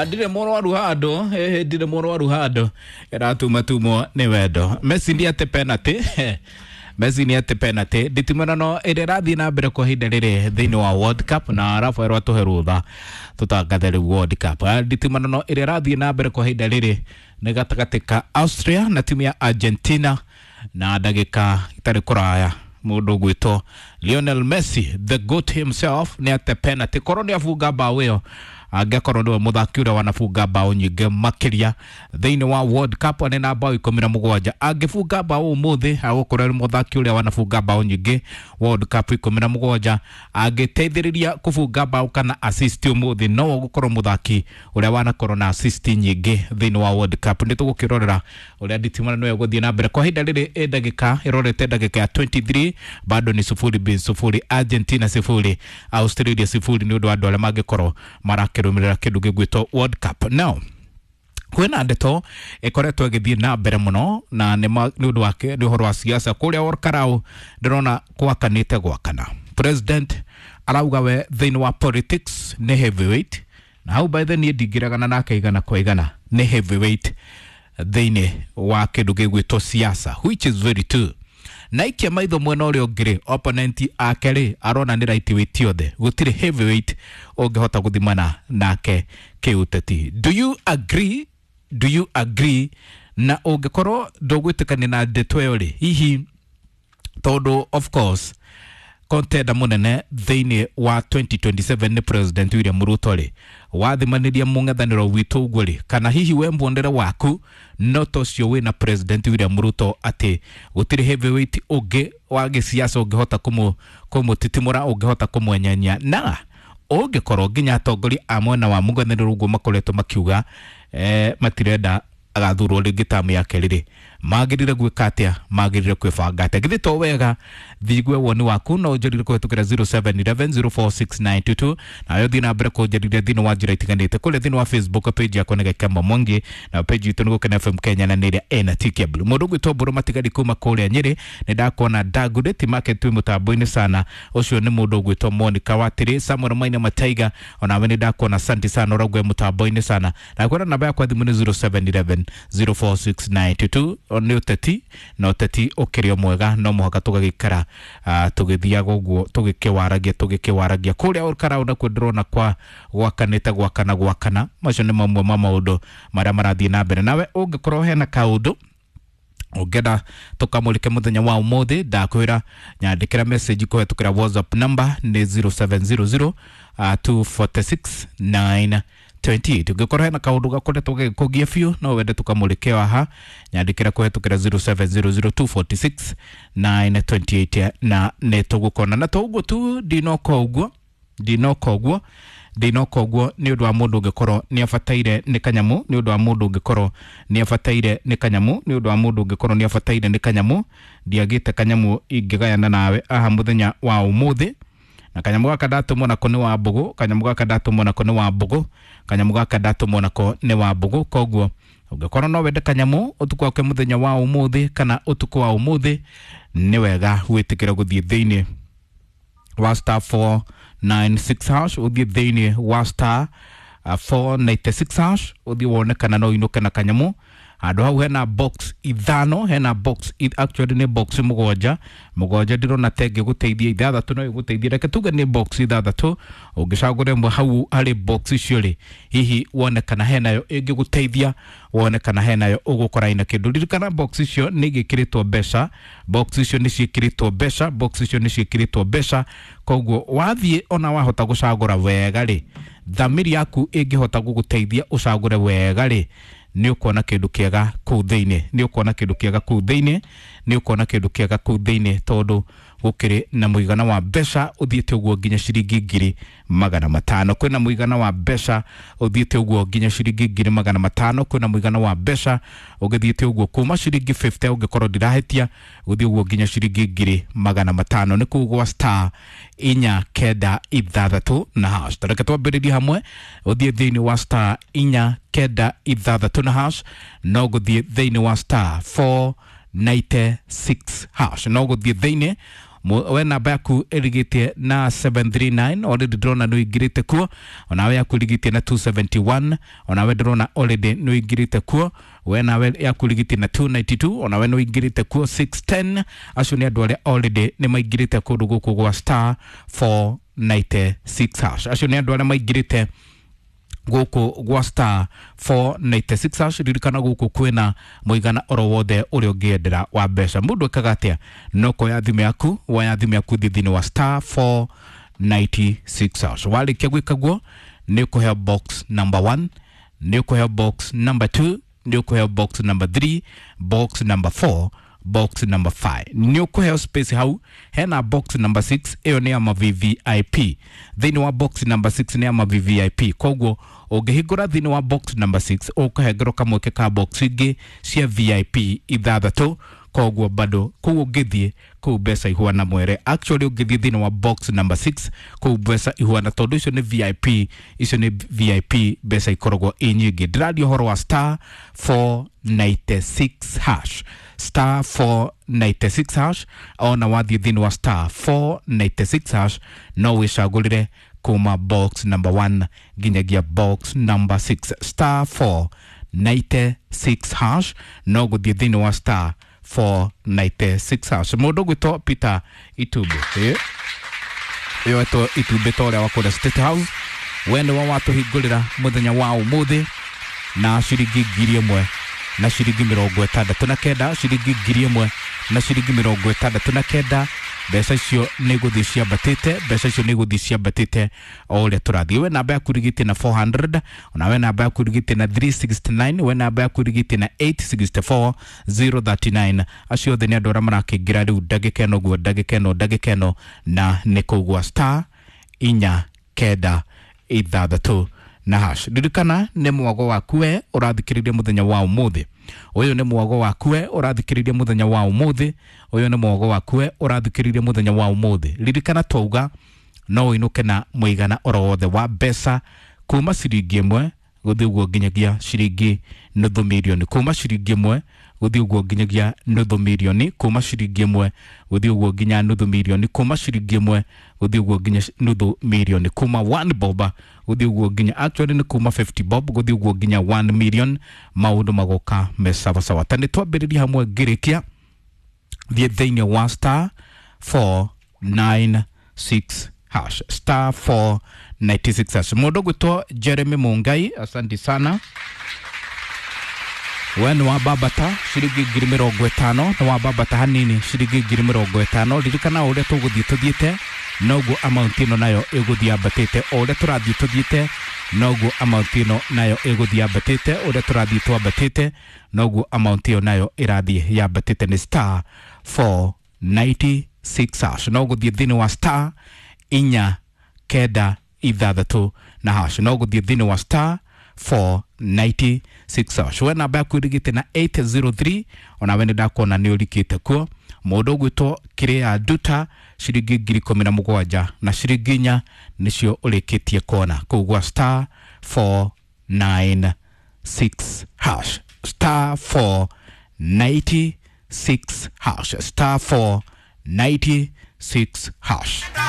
Na ndirĩ mũrwaru handũ, ndirĩ mũrwaru handũ, ĩratumatumwo nĩ wendo. Messi nĩ ate penalty. Messi nĩ ate penalty. Nditimũrano ĩrĩa ĩrathiĩ na mbere kwa ihinda rĩrĩ thĩinĩ wa World Cup, na Rafael atũhe rũtha tũtangathe rĩu World Cup. Nditimũrano ĩrĩa ĩrathiĩ na mbere kwa ihinda rĩrĩ nĩ gatagatĩ ka Austria na timu ya Argentina, na ndagĩka itarĩ kũraya mũndũ ũgwĩtwo Lionel Messi, the GOAT himself, nĩ ate penalty. Korwo nĩ abunga mbaũ ĩyo, angĩkorwo nĩwe mũthaki ũrĩa wanabunga mbaũ nyingĩ makĩria thĩinĩ wa World Cup, arĩ na mbaũ 17. Angĩbunga mbaũ ũmũthĩ, agũkorwo arĩ mũthaki ũrĩa wanabunga mbaũ nyingĩ World Cup, 17. Angĩteithĩrĩria kũbunga mbaũ kana assist ũmũthĩ, no ũgũkorwo mũthaki ũrĩa wanakorwo na assist nyingĩ thĩinĩ wa World Cup. Nĩ tũgũkĩrorera ũrĩa nditimũrano ĩyo ĩgũthiĩ na mbere. Kwa ihinda rĩrĩ ĩ ndagĩka ĩrorete ndagĩka ya 23, bado ni 0-0, Argentina 0, Australia 0, nĩ ũndũ wa andũ arĩa mangĩkorwo marakĩrũmĩrĩra kĩndũ gĩgwĩtwo World Cup. Now kwĩna ndeto ĩkoretwo ĩgĩthiĩ na mbere mũno, na nĩ ũndũ wake nĩ ũhoro wa siasa kũrĩa Olkarau. Ndĩrona gwakanĩte gwakana. President arauga we thĩinĩ wa politics nĩ heavyweight, na hau by the niĩ ndingĩregana nake igana kwa igana, nĩ heavyweight thĩinĩ wa kĩndũ gĩgwĩtwo siasa, which is very true. Na ikia maitho mwena ũrĩa ũngĩ rĩ, opponent ake rĩ, arona nĩ lightweight othe, gũtirĩ heavyweight ũngĩhota gũthimana nake kĩũteti. Do you agree? Do you agree? Na ũngĩkorwo ndũgwĩtĩkania na ndeto ĩyo rĩ, hihi tondũ of course contender mũnene thĩinĩ wa 2027 nĩ President William Ruto rĩ, wathimanĩria mũng'ethanĩro witũ ũguo rĩ, kana hihi we muonere waku no ta ũcio wĩna President William Ruto, atĩ gũtirĩ heavyweight ũngĩ wa gĩsiasa ũngĩhota kũmũtitimũra, ũngĩhota kũmwenyenya? Na ũngĩkorwo nginya atongoria a mwena wa mũng'ethanĩro ũguo makoretwo makiuga matirenda agathurwo rĩngĩ tamu ya kerĩ rĩ, magĩrĩire gwĩka atĩa? Magĩrĩire kwĩbanga atĩa? Githĩ to wega thigue woni waku? No ũnjĩrire kũhetũkĩra 0711046922, nawe ũthiĩ na mbere kũnjĩrire thĩinĩ wa njĩra itiganĩte kũrĩa thĩinĩ wa Facebook page yakwa nĩ Gakemo Mwangi, na page itũ nĩ Gũkena FM Kenya, na nĩ ĩrĩa ĩna TK Blue. Mũndũ ũgwĩtwo Mbũrũ Matigari kuma kũrĩa Nyĩrĩ, nĩ ndakuona. Ndangurĩti Market twĩ mũtambo-inĩ sana, ũcio nĩ mũndũ ũgwĩtwo Monica Watĩrĩ. Samuel Maina Mataiga, onawe nĩ ndakuona, asante sana, ũraugwe mũtambo-inĩ sana. Ndakwĩra namba yakwa thimũ nĩ 0711 046922. Nĩ ũteti, na ũteti ũkĩrĩ o mwega, no mũhaka tũgagĩikara tũgĩthiaga ũguo tũgĩkĩwaragia kũrĩa Olkarau. Nakuo ndĩrona kwa gwakanĩte gwakana gwakana. Macio nĩ mamwe ma maũndũ marĩa marathiĩ na mbere. Nawe ũngĩkorwo hena kaũndũ ũngĩenda tũkamũrĩke mũthenya wa ũmũthĩ, ndakwĩra nyandĩkĩra message kũhetũkĩra WhatsApp number nĩ 0700 246 928. Ũngĩkorwo hena kaũndũ gakoretwo gagĩkũgia biũ, no wende tũkamũrĩke haha, nyandĩkĩra kũhetũkĩra 0700 246 928, na nĩ tũgũkona. Na to ũguo tu, ndinoka ũguo, ndinoka ũguo, ndinoka ũguo, nĩ ũndũ wa mũndũ ũngĩkorwo nĩ abataire nĩ kanyamũ, nĩ ũndũ wa mũndũ ũngĩkorwo nĩ abataire nĩ kanyamũ, nĩ ũndũ wa mũndũ ũngĩkorwo nĩ abataire nĩ kanyamũ, ndiagĩte kanyamũ ingĩgayana nawe aha mũthenya wa ũmũthĩ. Na kanyamũ gaka ndatũmwo nako nĩ wa mbũgũ, kanyamũ gaka ndatũmwo nako nĩ wa mbũgũ, kanyamũ gaka ndatũmwo nako nĩ wa mbũgũ. Koguo ũngĩkorwo no wende kanyamũ ũtukũ wake mũthenya wa ũmũthĩ kana ũtukũ wa ũmũthĩ, nĩ wega wĩtĩkĩre gũthiĩ thĩinĩ wa *496#, ũthiĩ thĩinĩ wa *496#, ũthiĩ wone kana no ũinũke na kanyamũ. Handũ hau hena box ithano, hena box actually nĩ box mũgwanja. Mũgwanja ndĩrona ta ĩngĩgũteithia, ithathatũ no ĩgũteithie. Reke tuge nĩ box ithathatũ. Ũngĩcagũra ĩmwe hau harĩ box icio rĩ, hihi wone kana henayo ĩngĩgũteithia, wone kana henayo ũgũkora ina kĩndũ. Ririkana box icio nĩ igĩkĩrĩtwo mbeca, box icio nĩ ciĩkĩrĩtwo mbeca, box icio nĩ ciĩkĩrĩtwo mbeca. Koguo wathiĩ ona wahota gũcagũra wega rĩ, thamiri yaku ĩngĩhota gũgũteithia ũcagũre wega rĩ, nĩ ũkuona kĩndũ kĩega kũu thĩinĩ, nĩ ũkuona kĩndũ kĩega kũu thĩinĩ, nĩ ũkuona kĩndũ kĩega kũu thĩinĩ, tondũ gũkĩrĩ na mũigana wa mbeca ũthiĩte ũguo nginya ciringi 500,000. Kwĩna mũigana wa mbeca ũthiĩte ũguo nginya ciringi 500,000. Kwĩna mũigana wa mbeca ũgĩthiĩte ũguo kuma ciringi 50, ũngĩkorwo ndirahĩtia, gũthiĩ ũguo nginya ciringi 500,000. Nĩ kũu gwa *496#. Reke twambĩrĩrie hamwe. Ũthiĩ thĩinĩ wa *496#, no gũthiĩ thĩinĩ wa *496#, no gũthiĩ thĩinĩ We namba yaku ĩrigĩtie na 739, already ndĩrona nĩ ũingĩrĩte kuo. Onawe yaku ĩrigĩtie na 271, onawe ndĩrona already nĩ ũingĩrĩte kuo. We nawe yaku ĩrigĩtie na 292, onawe nĩ ũingĩrĩte kuo. 610, acio nĩ andũ arĩa already nĩ maingĩrĩte kũndũ gũkũ gwa star 496 hash. Acio nĩ andũ arĩa maingĩrĩte gũkũ gwa star 496 hash. Ririkana gũkũ kwĩna mũigana oro wothe ũrĩa ũngĩendera wa mbeca. Mũndũ ekaga atĩa? No kuoya thimũ yaku, woya thimũ yaku thiĩ thĩinĩ wa star 496 hash. Warĩkia gwĩka guo, nĩ ũkũheo box number 1, nĩ ũkũheo box number 2, nĩ ũkũheo box number 3, box number 4, box number 5. Nĩ ũkũheo space hau hena box number 6, ĩyo nĩ ya ma VVIP. Thĩinĩ wa box number 6 nĩ ya ma VVIP, koguo ũngĩhingũra thĩinĩ wa box number 6 ũkũhengerwo kamweke ka box ingĩ cia VIP ithathatũ. Koguo bado kũu ũngĩthiĩ kũu mbeca ihuana mwere. Actually ũngĩthiĩ thĩinĩ wa box number 6 kũu mbeca ihuana, tondũ icio nĩ VIP, icio nĩ VIP, mbeca ikoragwo i nyingĩ. Ndĩraria ũhoro wa star 496 hash, star 496 hash. Ona wathiĩ thĩinĩ wa star 496 hash no wĩcagũrĩre kuma box number 1 nginyagia box number 6. Star 496 hash, no gũthiĩ thĩinĩ wa star 496 hash. Mũndũ ũgwĩtwo Peter Itumbĩ, ĩyo etwo Itumbĩ ta ũrĩa wa kũrĩa State House, we nĩwe watũhingũrĩra mũthenya wa ũmũthĩ na ciringi 1,000 na ciringi 69, ciringi 1,000 na ciringi 69. Mbeca icio nĩ gũthiĩ ciambatĩte, mbeca icio nĩ gũthiĩ ciambatĩte o ũrĩa tũrathiĩ. We namba yaku ĩrigĩtie na 400, ona we namba yaku ĩrigĩtie na 369, we namba yaku ĩrigĩtie na 864 039. Acio othe nĩ andũ arĩa marakĩingĩra rĩu ndagĩka ĩno guo, ndagĩka ĩno, ndagĩka ĩno, na nĩ kũu gwa star 4 9 6 na hash. Ririkana nĩ mwago waku we ũrathikĩrĩria mũthenya wa ũmũthĩ. Ũyũ nĩ mwago waku we ũrathikĩrĩria mũthenya wa ũmũthĩ. Ũyũ nĩ mwago waku we ũrathikĩrĩria mũthenya wa ũmũthĩ. Ririkana twauga no ũinũke na mũigana oro wothe wa mbeca kuma ciringi 1 gũthiĩ ũguo nginyagia ciringi nuthu mirioni, kuma ciringi 1 gũthiĩ ũguo nginyagia nuthu mirioni, kuma ciringi 1 gũthiĩ ũguo nginya nuthu mirioni, kuma ciringi 1 gũthiĩ ũguo nginya nuthu mirioni, kuma 1 bob gũthiĩ ũguo nginya, actually nĩ kuma 50 bob gũthiĩ ũguo nginya 1 million. Maũndũ magoka me sawasawa. Ta nĩ twambĩrĩria hamwe ngĩrĩkia, thiĩ thĩinĩ wa star 496 hash, star 496 hash. Mũndũ ũgwĩtwo Jeremy Mungai, asante sana. We nĩ wambambata ciringi 50,000, nĩ wambambata hanini ciringi 50,000. Ririkana o ũrĩa tũgũthiĩ tũthiĩte noguo amount ĩno nayo ĩgũthiĩ yambatĩte, o ũrĩa tũrathiĩ tũthiĩte noguo amount ĩno nayo ĩgũthiĩ yambatĩte, ũrĩa tũrathiĩ twambatĩte noguo amount ĩyo nayo ĩrathiĩ yambatĩte. Nĩ star 496 hash, no gũthiĩ thĩinĩ wa star 4 9 6 na hash, no gũthiĩ thĩinĩ wa star 496 hash. We namba yaku ĩrigĩte na 803, onawe nĩ ndakuona nĩ ũrikĩte kuo. Mũndũ ũgwĩtwo Kĩrĩa Nduta ciringi 17,000 na ciringi 4 nĩcio ũrĩkĩtie kuona kũu gwa star 496 hash, star 496 hash, star 496 hash.